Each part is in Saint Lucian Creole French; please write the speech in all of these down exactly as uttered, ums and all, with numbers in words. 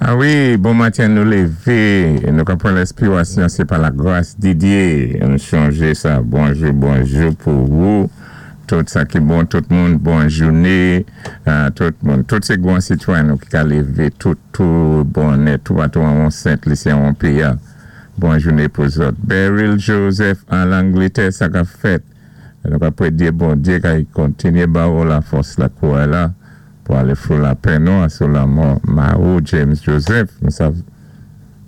Ah wi, bon maten, nou lévé. Nou ka pran lenspirasyon, sé pa lagras di Diyé. Nou chanjé sa. Bonjou, bonjou pou wou. Tout sa ki bon, tout moun, bon jouné. Euh, tout moun. Tout sé gwan sitwayen nou ki ka lévé tout, tout bonnè, tout patou an Sent-Lisi, an péyi. Bon jouné pou zòt. Beryl Joseph an Langlétè, sa ka fèt. Nou ka prédiyé Bondyé ka kontinyé ba ou lafòs lakouray la pou alé fou lapenn nou sou lanmò Mao James Joseph. Nou sav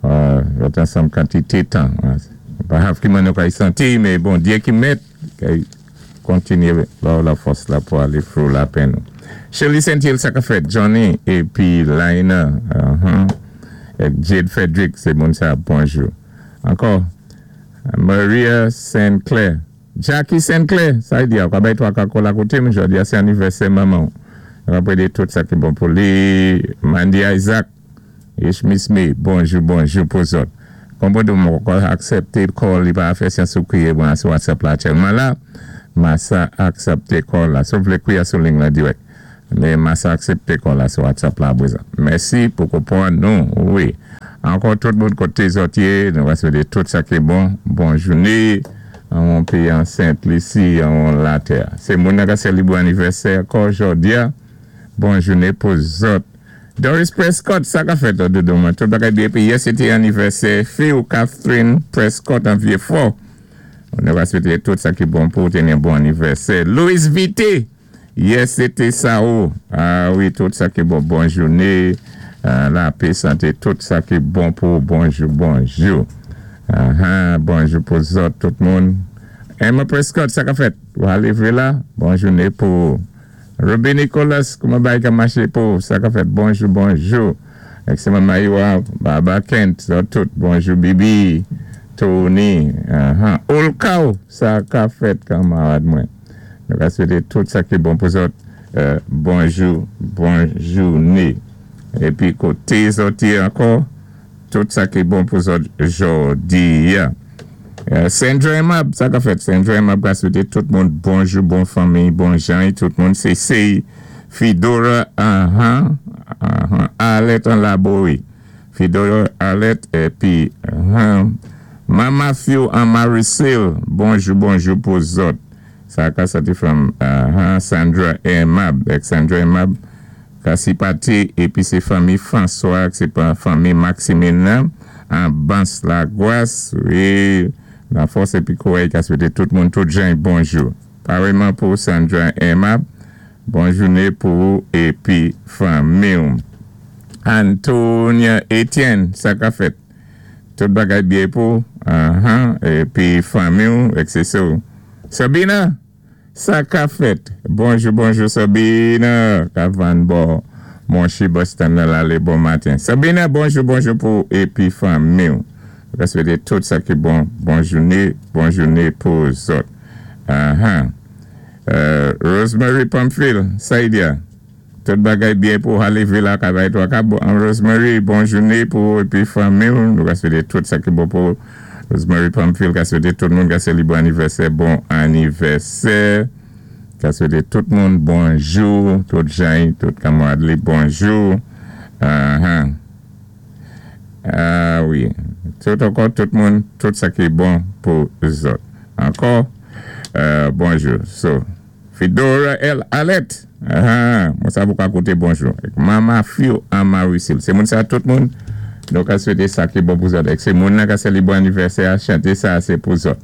euh, ansanm kantité tan. Pa sav ki man nou ka santi, mé Bondyé ki mèt ka kontinyé ba ou lafòs la pou alé fou lapenn nou. Shirley Saint-Hill, sa ka fèt. Johnny épi Lina, uh-huh. É Jade Frederick, sé moun sa, bonjou. Ankò, Maria Saint Clair. Jackie Saint Clair, sa i di, ka bay twa ka kòl akoté, mwen jòdi a sé anivèsè manman. Apwé tout sa ki bon pou li. Mandy Isaac, Ishmis Me, bonjou, bonjou pou zòt. Konpwann mwen ka aksépté call, li pa fè syans ou kwiyé mwen sou WhatsApp la aktyèlman la. Ma sa aksépté call la. Si ou vlé kwiyé sou liy la dirèk. Mé ma sa aksépté call la sou WhatsApp la bwézan. Mèsi pou konpwann nou, wi. Ankò tout moun koté zòt yé, nou va swété tout sa ki bon, bon jouné, an péyi an Sent-Lisi, an latè. Sé moun nan ka sélébwé anivèsè ankò jòdi a, bon jouné pou zòt. Doris Prescott, sa ka fèt doudou mwen, tout bagay byen, épi yè sété anivèsè fi ou Catherine Prescott an Vieux-Fort. Nou va swété tout sa ki bon pou téni bon anivèsè. Louis Vité, yè sété sa ou. Ah wi, tout sa ki bon, bon jouné, lapè, santé, tout sa ki bon pou bonjou, bonjou. Ah, bonjou pou zòt, tout moun. Emma Prescott, sa ka fèt? Ou alé vwé la? Bon jouné pou Ruby Nicholas, kouman bagay ka maché pou sa ka fèt? Bonjou, bonjou. Excellent Maïwa, Baba Kent, zòt tout, bonjou Bibi, Tony, uh-huh. Olkao, sa ka fèt kanmarad mwen. Nou ka swété tout sa ki bon pou zòt, euh, bonjou, bon jouné. Épi koté zòt yé ankò, tout sa ki bon pou zòt jòdi a. Euh, Sandra Emab, sa ka fèt. Sandra Emab ka swété tout moun bonjou, bon fanmi, bon jan, tout moun sé sé Fidora, uh-huh, uh-huh, Arlette an Laborie. Fidora Arlette, épi, uh-huh, Mama Few an Marisil, bonjou, bonjou pou zòt. Sa ka soti from uh-huh, Sandra Emab, ek Sandra Emab, ka pati, épi sé fanmi François, sé pa fanmi Maximilien, an Bans Lagwas, wi, lafòs épi kouray ka swété tout moun, tout jan, bonjou. Pareman pou Sandra Emab, bon jouné pou ou épi fanmi. Antonia Etienne, sa ka fèt. Tout bagay byen pou, uh-huh, épi fanmi, et cetera. Sabina, sa ka fèt. Bonjou, bonjou Sabina, ka vann bò Monchi Boston nan lalé bon maten. Sabina, bonjou, bonjou pou épi fanmi. Ka swété tout sa ki bon, bon jouné, bon jouné pou zòt. Uh-huh. Euh, Rosemary Pamphile, Saïdia. Tout bagay byen pou alé vila kavay toi ka bon. Rosemary, bon jouné pou épi fanmi. Nou ka swété tout sa ki bon pou Rosemary Pamphile, ka swété tout moun ka sélébwé anivèsè, bon anivèsè. Ka swété tout moun bonjou, tout jan, tout kanmarad li, bonjou. Uh-huh. Ah wi. Tout ankò, tout moun, tout sa ki bon pou zòt. Ankò, euh, bonjou. So, Fidora El Alet. Ah, mwen sa pou ka koté bonjou. Mama Fio an Marisil. Sé moun sa tout moun. Nou ka swété sa ki bon pou zòt. Sé moun nan ka sélébwé anivèsè a chanté sa sé pou zòt.